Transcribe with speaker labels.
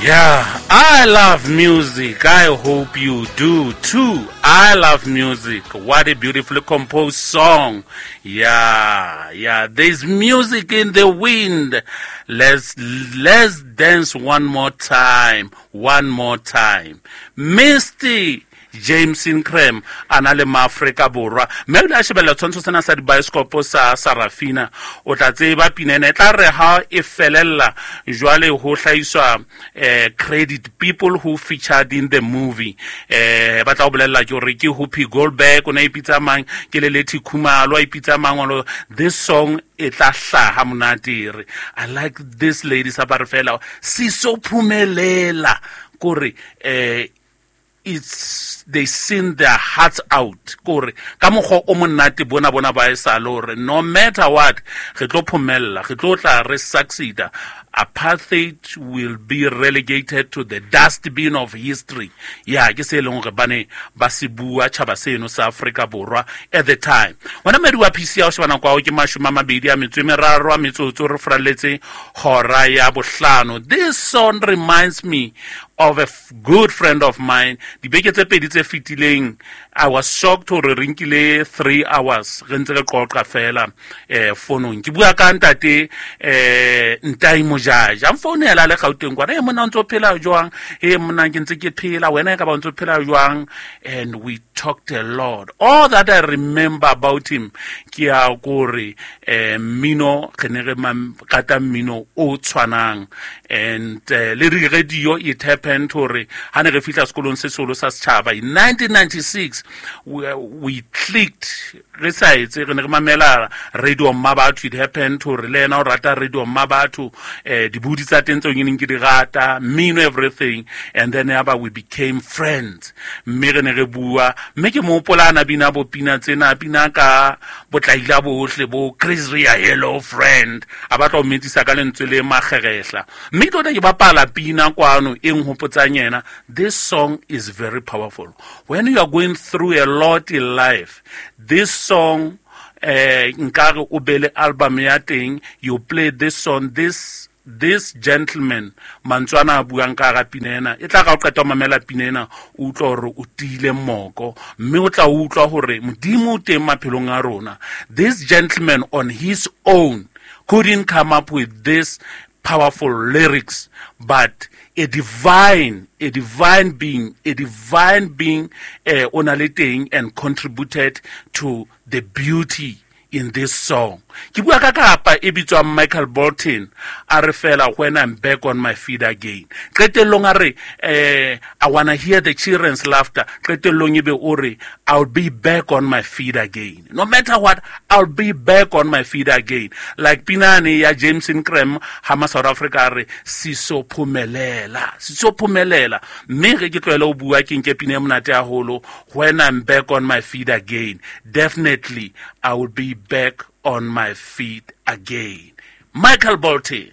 Speaker 1: Yeah, I love music. I hope you do too. I love music. What a beautifully composed song. Yeah, yeah. There's music in the wind. Let's dance one more time. One more time. Misty James Ingram a na le maafrika Borwa, mme o ile a shebelela tshwantsho sena sa dibaesekopo sa Sarafina. O tla tseba pina ena e tla re ha e felella jwale ho hlahiswa credit people who featured in the movie. Ba tla o bolella ke hore ke Whoopi Goldberg o ne a ipitsa mang, ke Lelethi Khumalo a ipitsa mang. This song e tla hlaha monate re I like this lady sa ba re fela sisophumelela kore it's they sing their hearts out kore ka mokgwa o monate bona bona ba e sa le hore no matter what re tlo phomella, re tlo tla re succeeda. Apartheid will be relegated to the dustbin of history. Ya ke se e leng hore ba ne ba se bua tjhaba seno sa Afrika Borwa at the time. Wena mmedi wa PC ya o sheba nako ya ke 23 a metsotso re furalletse hora ya bohlano. This song reminds me of a good friend of mine. Dibeke tse pedi tse fetileng I was shocked hore re nkile 3 hours re ntse re qoqa fela fonong. Ke bua ka ntate Ntai Mojaja. A mfounela le Gauteng kwana, e monna o ntso phela jwang? E monna ke ntse ke phela, wena e ka ba o ntso phela jwang? And we talked a lot. All that I remember about him ke ya kore mmino re ne re rata mmino o tshwanang. And le radio it happened hore ha ne re fihla sekolong se seholo sa setjhaba in 1996 we clicked re sa etse re ne re mamela radio Mmabatho. It happened hore le yena o rata radio Mmabatho, dibudi tsa teng tseo ke neng ke di rata, mmino, everything. And then yaba we became friends, mme re ne re bua, mme ke mo hopola a bina bo pina tsena, pina ka botlaila bohle bo Chris Rea, hello friend, a batla ho metsisa ka lentswe le makgerehla. Mme ke tota ke bapala pina kwano e nhopotsang yena. This song is very powerful. When you are going through a lot in life, this song, nkare o be le album ya teng, you play this song, this gentleman mantswe ana a buang ka hara pina ena, e tla ka o qeta ho mamela pina ena, o utlwa hore o tiile moko, mme o tla utlwa hore Modimo o teng maphelong a rona. This gentleman on his own couldn't come up with this powerful lyrics, but a divine being o na le teng and contributed to the beauty in this song. Ke bua ka kapa e bitswang Michael Bolton, a re fela when I'm back on my feet again. Qetellong a re I wanna hear the children's laughter. Qetellong ebe o re I'll be back on my feet again. No matter what, I'll be back on my feet again. Like pinane ya James Ingram ha ma South Africa a re sisophumelela, sisophumelela. Mme re ke tlohele ho bua ke nke pina e monate haholo, when I'm back on my feet again. Definitely I will be back on my feet again. Michael Bolton.